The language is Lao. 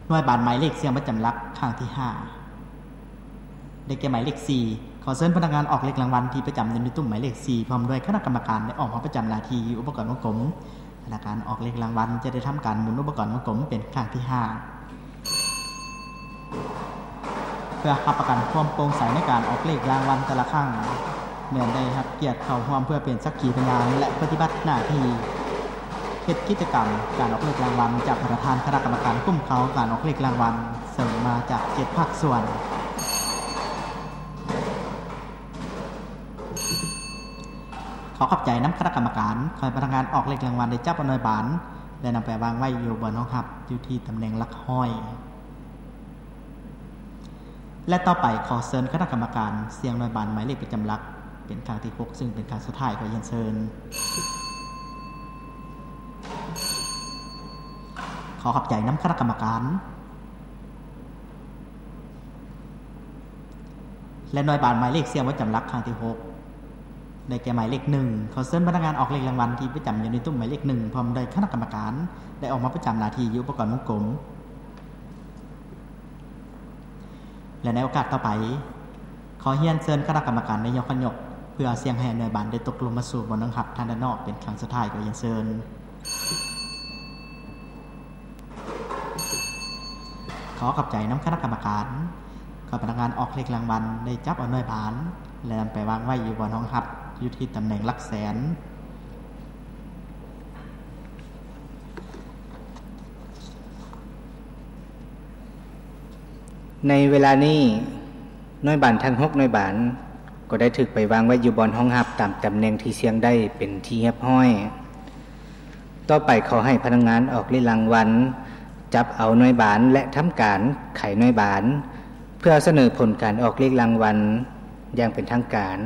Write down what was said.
ໜ່ວຍບານໝາຍເລກສ່ຽງປະຈຳຫຼັກຄັ້ງທີຫ້າ ໄດ້ແກ່ໝາຍເລກສີ່. ຂໍເຊີນພະນັກງານອອກເລກລາງວັນທີ່ປະຈຳຢູ່ໃນຕຸ້ມໝາຍເລກສີ່ ພ້ອມດ້ວຍຄະນະກຳມະການ ໄດ້ອອກມາປະຈຳໜ້າທີ່ຢູ່ອຸປະກອນວົງກົມ. ພະນັກງານອອກເລກລາງວັນຈະໄດ້ທຳການໝູນອຸປະກອນວົງກົມເປັນຄັ້ງທີຫ້າ ເພື່ອຮັບປະກັນຄວາມໂປ່ງໃສໃນການອອກເລກລາງວັນແຕ່ລະຄັ້ງ ແມ່ນໄດ້ຮັບກຽດເຂົ້າຮ່ວມເພື່ອເປັນສັກຂີພະຍານ ແລະ ປະຕິບັດໜ້າທີ່ເຮັດກິດຈະກຳການອອກເລກລາງວັນຈາກປະທານຄະນະກຳມະການຄຸ້ມຄອງການອອກເລກລາງວັນ ເຊິ່ງມາຈາກເຈັດພາກສ່ວນ. ຂໍຂອບໃຈນຳຄະນະກຳມະການ. ຂໍໃຫ້ພະນັກງານອອກເລກລາງວັນໄດ້ຈັບເອົາໜ່ວຍບານ ແລະ ນຳໄປວາງໄວ້ຢູ່ບ່ອນຮອງຮັບ ຢູ່ທີ່ຕຳແໜ່ງຫຼັກຮ້ອຍ ແລະ ຕໍ່ໄປຂໍເຊີນຄະນະກຳມະການສ່ຽງໜ່ວຍບານໝາຍເລກປະຈຳຫຼັກເປັນຄັ້ງທີຫົກ ຊຶ່ງເປັນຄັ້ງສຸດທ້າຍ. ຂໍຮຽນເຊີນ. ຂໍຂອບໃຈນຳຄະນະກຳມະການ ແລະ ໜ່ວຍບານໝາຍເລກສ່ຽງປະຈຳຫຼັກຄັ້ງທີຫົກ ໄດ້ແກ່ໝາຍເລກໜຶ່ງ. ຂໍເຊີນພະນັກງານອອກເລກລາງວັນທີ່ປະຈຳຢູ່ໃນຕຸ້ມໝາຍເລກໜຶ່ງ ພ້ອມດ້ວຍຄະນະກຳມະການ ໄດ້ອອກມາປະຈຳໜ້າທີ່ຢູ່ອຸປະກອນວົງກົມ. ແລະ ໃນໂອກາດຕໍ່ໄປ, ຂໍຮຽນເຊີນຄະນະກຳມະການໄດ້ຍົກຂັນຍົກ ເພື່ອສ່ຽງໃຫ້ໜ່ວຍບານໄດ້ຕົກລົງມາສູ່ບ່ອນຮອງຮັບທາງດ້ານນອກເປັນຄັ້ງສຸດທ້າຍ. ຂໍຮຽນເຊີນ. ຂໍຂອບໃຈນຳຄະນະກຳມະການ. ຂໍພະນັກງານອອກເລກລາງວັນໄດ້ຈັບເອົາໜ່ວຍບານ ແລະ ນຳໄປວາງໄວ້ຢູ່ບ່ອນຮອງຮັບ ຢູ່ທີ່ຕຳແໜ່ງຫຼັກແສນ. ໃນເວລານີ້, ໜ່ວຍບານທັງຫົກໜ່ວຍບານ ກໍໄດ້ຖືກໄປວາງໄວ້ຢູ່ບ່ອນຮອງຮັບຕາມຕຳແໜ່ງທີ່ສ່ຽງໄດ້ເປັນທີ່ຮຽບຮ້ອຍ. ຕໍ່ໄປຂໍໃຫ້ພະນັກງານອອກເລກລາງວັນ ຈັບເອົາໜ່ວຍບານ ແລະ ທຳການໄຂໜ່ວຍບານ ເພື່ອສະເໜີຜົນການອອກເລກລາງວັນຢ່າງເປັນທາງການ.